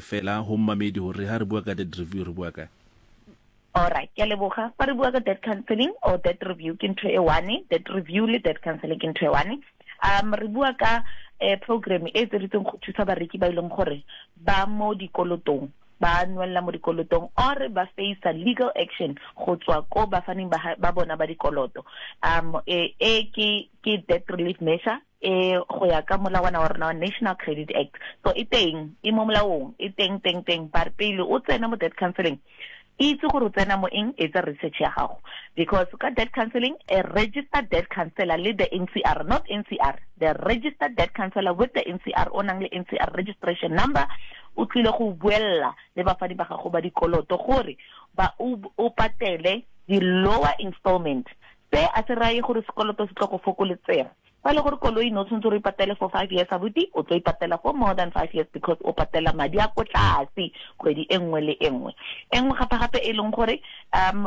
Fela ho mmamedi hore ha re bua ka debt review re bua ka. Alright, ke a leboga. Fa re bua ka debt counseling or debt review ke ntho e one, debt review le debt counseling ke ntho e one. Re bua ka eh, program e etseditsweng go thusa bareki ba e leng gore ba mo dikolotong, ba nwelela mo dikolotong or ba facea legal action go tswa ko bafaning ba, ba bona ba dikoloto. E, e ke ke debt relief measure e go ya ka molawana wa rona wa National Credit Act. So e teng, e mo molaong, e teng teng teng. But pele o tsena mo debt counseling, itse gore o tsena mo eng, etsa research ya gago. Because ka debt counseling, a registered debt counselor le the NCR, not NCR, the registered debt counselor with the NCR, o nang le NCR registration number, o tlile go buella le bafani ba gago ba dikoloto gore ba o patele di-lower installment. Se a se raye gore sekoloto se tlo go fokoletsega. Fa e le gore koloi ne o tshwanetse gore o ipatele for 5 years abuti, o tlo ipatela for more than 5 years because o patela madi a ko tlase kgwedi e nngwe le e nngwe. E nngwe gape-gape e leng gore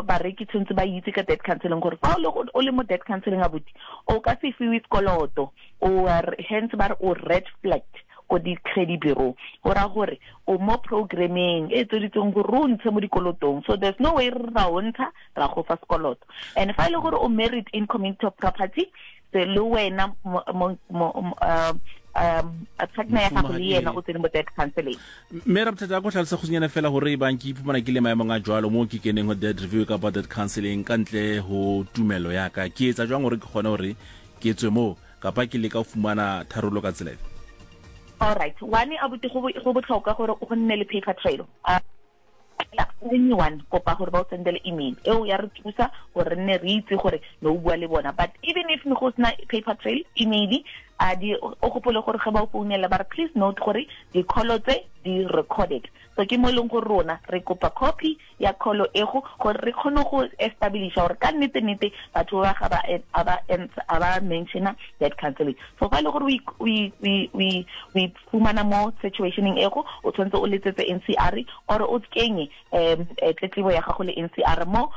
bareki tshwanetse ba itse ka debt counseling gore fa o le mo debt counseling abuti, o ka se fiwe sekoloto, o hence ba re o red flagged ko di-credit bureau. Go raya gore o mo programmeng e etseditsweng gore o ntshe mo dikolotong, so there's no way re ra o ntsha ra go fa sekoloto. And fa e le gore o married in community of property, se le wena partner ya gago le yena o tsene mo debt counseling. Mme Rabothata, a ko tlhalosa kgutshwanyane fela gore e bang ke iphumana ke le maemong a jwalo mo ke keneng ho debt review kapa debt counseling ka ntle ho tumelo ya ka, ke etsa jwang gore ke kgone hore ke tswe moo kapa ke leka ho fumana tharollo ka tsela efe? All right, one abuti, go botlhokwa gore go nne le paper trail. Anyone kopa gore ba o sendele email eo ya re thusa gore re nne re itse gore ne o bua le bona. But even if ne go sena paper trail, email a di o gopole gore ge ba o founela ba re please note gore di-call tse di recorded. So ke mo e leng gore rona re kopa copy ya call ego gore re kgone go establisha gore ka nnete nnete batho ba ga ba a ba mentiona debt counseling. So fa e le gore o fumana mo situationeng ego, o tshwanetse o letsetse NCR or o kenye tletlebo ya gago le NCR mo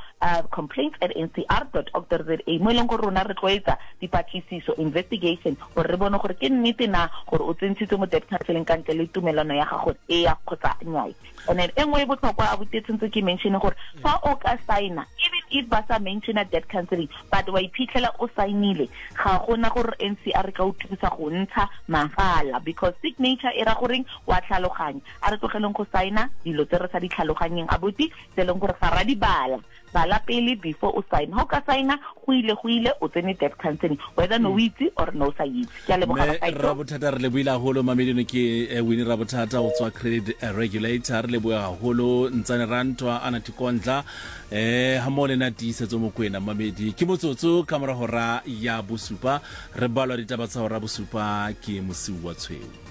complaints at ncr dot org dot za, mo e leng gore rona re tlo etsa dipatlisiso, investigation, gore re bone gore ke nnete na gore o tsentshitswe mo debt counseling ka ntle le tumelano ya gago, eya kgotsa nnyaya. And then e nngwe e botlhokwa abuti e tshwanetse ke mention gore fa o ka signa, even if ba sa mentiona debt counseling but wa iphitlhela o signile, ga gona gore NCR ka o thusa go ntsha mahala, because signature e ra goreng wa tlhaloganya. A re tlogeleng go signa dilo tse re sa di tlhaloganyeng abuti, tse e leng gore ga ra di bala. Bala pele before o sign. Ha o ka signa, go ile go ile, o tsene debt counseling, whether no o itse or no o sa itse. Ke a leboga Mme bagaetsho. Rabothata, re lebohile haholo. Mamedino ke Winnie Rabothata go tswa Credit Regulator. Re lebohe haholo Ntsane Rantwa, Anna Tikondla ha mmoho le nna Tiisetso Mokwena. Mamedi ke motsotso ka mora hora ya bosupa, re balwa ditaba tsa hora bosupa ke Mosiuwa Tshweu.